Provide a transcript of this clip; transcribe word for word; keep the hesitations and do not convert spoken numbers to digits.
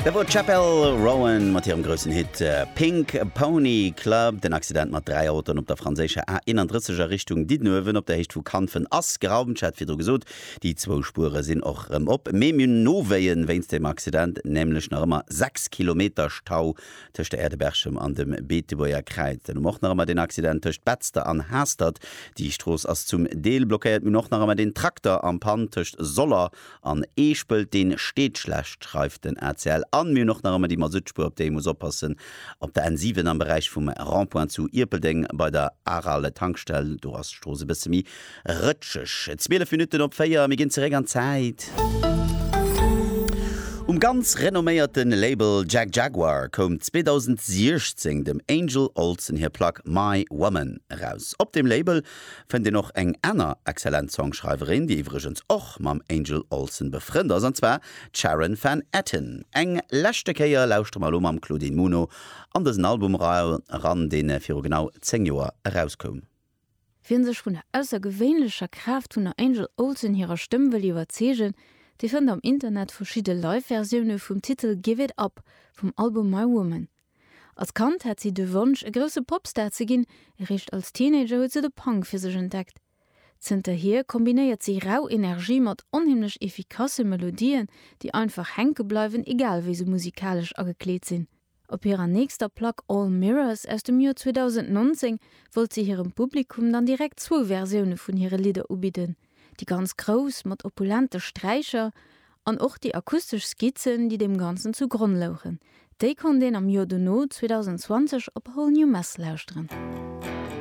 Dat wor d'Chappell Roan mat hirem groussen Hit Pink Pony Club. Den Accident mat dräi Autoen op der franséischer A eenanddrësseg a Richtung Diddenuewen op der Héicht vu Kanfen ass geraumt. Ech hat virdru gesot, déi zwou Spuere sinn och rëm op. Mee mir hunn Nowéien wéinst dem Accident, nämlech nach ëmmer sechs Kilometer Stau tëscht der Aire de Berchem an dem Beetebuerger Kräiz. Dann hu mer och nach ëmmer den Accident tëscht Betzder an Haastert. Déi Strooss ass zum Deel blockéiert. Mir hunn och nach ëmmer den Trakter en panne tëscht Soller an Eeschpelt. Deen steet schlecht, schreift den A C L. An mir hunn och nach ëmmer déi Masuttspuer, op déi ee muss oppassen, op der N siwen am Beräich vum Rond-point zu Ierpeldeng bei der Aral Tankstell. Do ass d'Strooss e bësse méi rëtscheg. Zwielef Minutten op véier, mir ginn zeréck an d'Zäit. Um ganz renomméierte Label Jagjaguwar koum zweedausendsiechzéng dem Angel Olsen hir Plack My Woman eraus. Op deem Label fënnt een och eng aner exzellent Songschreiwerin, déi iwwregens och mam Angel Olsen befrënnt ass, an zwar d'Sharon Van Etten. Eng leschte Kéier lauschtere mer elo mam Claudine Muno an dësen Album eran, dee viru genau zéng Joer erauskoum. Wien sech vun der aussergewéinlecher Kraaft vun der Angel Olsen hirer Stëmm wëll iwwerzeegen, dee fënnt am Internet verschidde Live-Versioune vum Titel Give It Up vum Album My Woman. Als Kand hat si de Wonsch, e grousse Popstar ze ginn, eréischt als Teenager huet se de Punk fir sech entdeckt. Zënterhier kombinéiert si rau Energie mat onheemlech effikasse Melodien, déi einfach hänke bleiwen, egal wéi se musikalesch agekleet sinn. Op hirer nächster Plack All Mirrors aus dem Joer zweedausendnonzéng wollt si hirem Publikum dann direkt zwou Versioune vun hire Lidder ubidden, déi ganz grouss mat opulente Sträicher an och déi akustesch Skizzen, déi deem Ganzen zu Gronn louchen. Déi konnt een am Joer dono zweedausendzwanzeg op Whole New Mess lauschteren.